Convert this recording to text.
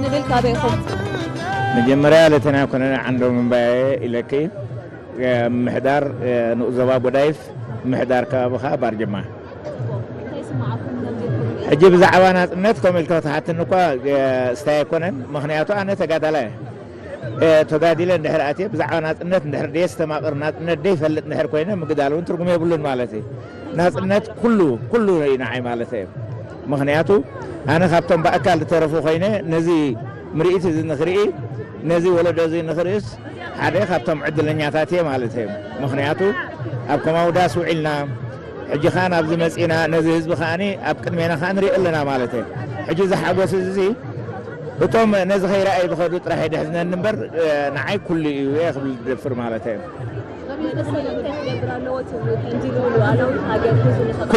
ክብል ካበይ ኢኹም? መጀመርያ ለተና ኮነ ዓንዶ ምንባየ ኢለኪ ምሕዳር ንኡዘባ ጎዳይፍ ምሕዳር ከባቢ ከዓ ባርጀማ። ሕጂ ብዛዕባ ናፅነት ከም ኢልካ ክትሓትኒ እኳ ስታይ ኣይኮነን። ምክንያቱ ኣነ ተጋዳላይ እየ። ተጋዲለ እንድሕር ኣትየ ብዛዕባ ናፅነት እንድሕር ደየስተማቕር፣ ናፅነት ደይፈልጥ እንድሕር ኮይነ ምግዳል እውን ትርጉም የብሉን ማለት እዩ። ናፅነት ኩሉ ኩሉ እዩ ንዓይ ማለት እዩ። ምክንያቱ ኣነ ካብቶም ብኣካል ዝተረፉ ኮይነ ነዚ ምርኢት እዚ ንክርኢ፣ ነዚ ወለዶ እዚ ንክርእስ ሓደ ካብቶም ዕድለኛታት እየ ማለት እዩ። ምክንያቱ ኣብ ኮማውዳስ ውዒልና፣ ሕጂ ከዓ ናብዚ መፂና፣ ነዚ ህዝቢ ከዓ ኣብ ቅድሜና ከዓ ንሪኦ ኣለና ማለት እዩ። ሕጂ እዚ ሓጎስ እዚ እቶም ነዚ ከይረኣዩ ዝኸዱ ጥራሕ የድሕዝነኒ እምበር ንዓይ ኩሉ እዩ እየ ክብል ዝደፍር ማለት እዩ። መሰል እንታይ ክገብር ኣለዎ ትብሉ? ከምዚ ኢሉ ሉዓላዊት ሃገር ሒዙ ንኸ- ኩሉ